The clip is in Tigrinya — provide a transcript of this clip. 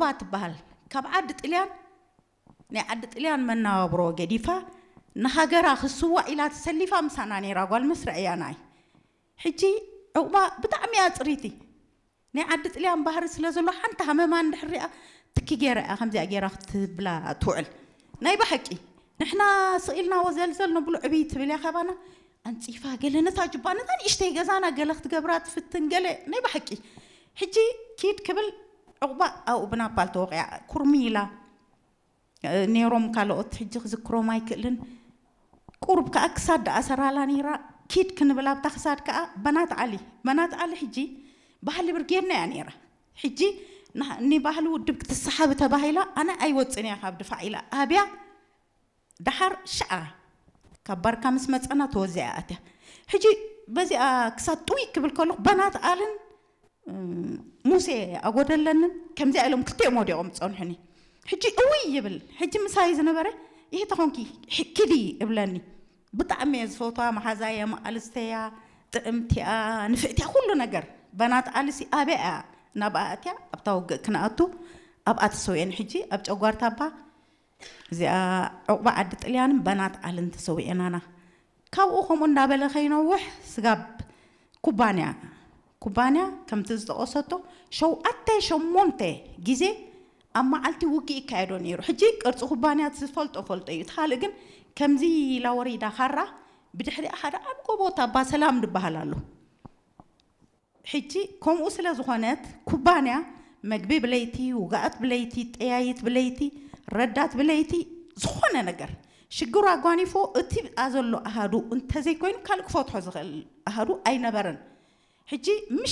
ዑቕባ ትበሃል ካብ ዓዲ ጥልያን ናይ ዓዲ ጥልያን መናባብሮ ገዲፋ ንሃገራ ክስዋእ ኢላ ተሰሊፋ ምሳና ነይራ ጓል መስርዕ እያ ናይ ሕጂ ዑቕባ ብጣዕሚ እያ ፅሪቲ ናይ ዓዲ ጥልያን ባህሪ ስለ ዘሎ ሓንቲ ሃመማ እንድሕር ሪኣ ትኪ ገይራ እያ ከምዚኣ ገይራ ክትብላ ትውዕል ናይ ብሓቂ ንሕና ስቕ ኢልናዎ ዘልዘል ነብሎ ዕብይ ትብል እያ ካባና ኣንፂፋ ገለ ነታ ጅባ ነታ ንእሽተይ ገዛና ገለ ክትገብራ ትፍትን ገለ ናይ ብሓቂ ሕጂ ኪድ ክብል ዕቑባ ኣብኡ ብናፓል ተወቂዓ ኩርሚ ኢላ ነይሮም ካልኦት ሕጂ ክዝክሮም ኣይክእልን ቁሩብ ከዓ ክሳድ ደኣ ሰራላ ነይራ ኪድ ክንብል ኣብታ ክሳድ ከዓ በናት ዓሊ በናት ዓሊ ሕጂ ባህሊ ብርጌድና እያ ነይራ ሕጂ ንባህሊ ውድብ ክትሰሓብ ተባሂላ ኣነ ኣይወፅን እያ ካብ ድፋዕ ኢላ ኣብያ ደሓር ሽዓ ካብ ባርካ ምስ መፀና ተወዚኣ ኣትያ ሕጂ በዚኣ ክሳብ ጥውይ ክብል ከለኹ በናት ኣልን ሙሴ ኣጎደለንን ከምዚኣ ኢሎም ክልቲኦም ወዲቖም ዝፀንሑኒ ሕጂ እውይ ይብል ሕጂ ምሳይ ዝነበረ ይህ ተኾንኪ ኪዲ እብለኒ ብጣዕሚ እየ ዝፈትዋ መሓዛየ መኣልስተያ ጥዕምቲኣ ንፍዕቲያ ኩሉ ነገር በናት ኣልሲ ኣበያ እያ ናብኣ ኣትያ ኣብታ ውግእ ክንኣቱ ኣብኣ ተሰውየን ሕጂ ኣብ ጨጓርታ ኣባ እዚኣ ዕቑባ ዓዲ ጥልያንን በናት ዓልን ተሰዊኤናና። ካብኡ ከምኡ እንዳበለ ከይነውሕ ስጋብ ኩባንያ ኩባንያ ከምቲ ዝጠቐሰቶ ሸውዓተ ሸሞንተ ግዜ ኣብ መዓልቲ ውግእ ይካየዶ ነይሩ። ሕጂ ቅርፂ ኩባንያ ዝፈልጦ ፈልጦ እዩ። እቲ ካልእ ግን ከምዚ ኢላ ወሪዳ ካራ ብድሕሪኣ ሓደ ዓብ ጎቦ ታባ ሰላም ዝበሃል ኣሎ። ሕጂ ከምኡ ስለ ዝኾነት ኩባንያ መግቢ ብለይቲ፣ ውግኣት ብለይቲ፣ ጠያይት ብለይቲ፣ ረዳት ብለይቲ ዝኾነ ነገር ሽግሩ ኣጓኒፎ እቲ ብኣ ዘሎ ኣሃዱ እንተዘይኮይኑ ካልእ ክፈትሖ ዝኽእል ኣሃዱ ኣይነበረን። ሕጂ ምሸት